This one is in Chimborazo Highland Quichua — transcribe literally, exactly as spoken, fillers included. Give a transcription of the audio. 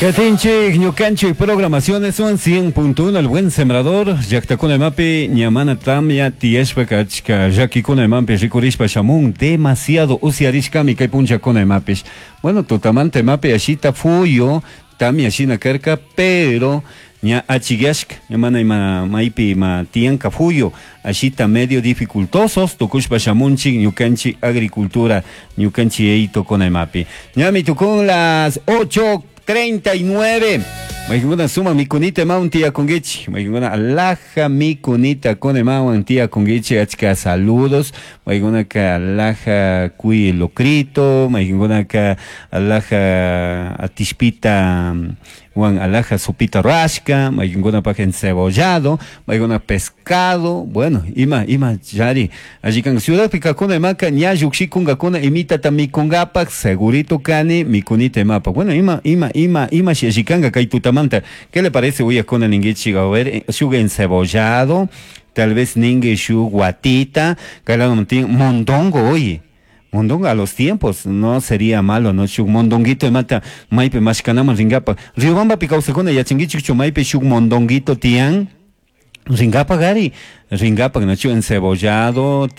Katinchik ñukanchik programaciones son cien punto uno El Buen Sembrador. Llaktakuna imapi ñamana tamya tiyashpa achka llakikuna imapi rikurishpa shamun, demasiado usyarishkami kay punchakuna imapish. Bueno, tutamanta imapi ashita fuyo tamya shina karka, pero ña achiyashka, ña mana ima maypi ima tiyanka fuyo ashita, medio dificultosos tukushpa shamunchik ñukanchik agricultura, ñukanchik eytokuna imapi. Ñami tukun las ocho treinta y nueve. Maykuna suma mikunita imawan tiyakunkichik? Maykuna alhaja mikunita kuna imawan tiyakunkichik? Achka saludos. Maykunaka alhaja cuy locrito, maykunaka alhaja atishpita wan alhaja sopita rashka, maykunapaj encebollado, maykuna pescado, bueno, ima ima yari. Allí kan ciudad kakuna imaka ña llukshikunkakuna imitata mikunkapak, segurito kani mikunita imapa. Bueno, ima ima ima ima shi kay tutamanta. ¿Qué le parece uyakuna ningichik? A ver, shuk encebollado, tal vez ningue shuk guatita, mondongo, oye. Mondongo a los tiempos, no sería malo, no? Shuk mondonguito imata maypi mashkanaman ringapa. Riobambapi kawsakuna yachankichikchu maypi shuk mondonguito tiyan? Ringapa gari, ringapa, no? Encebollado.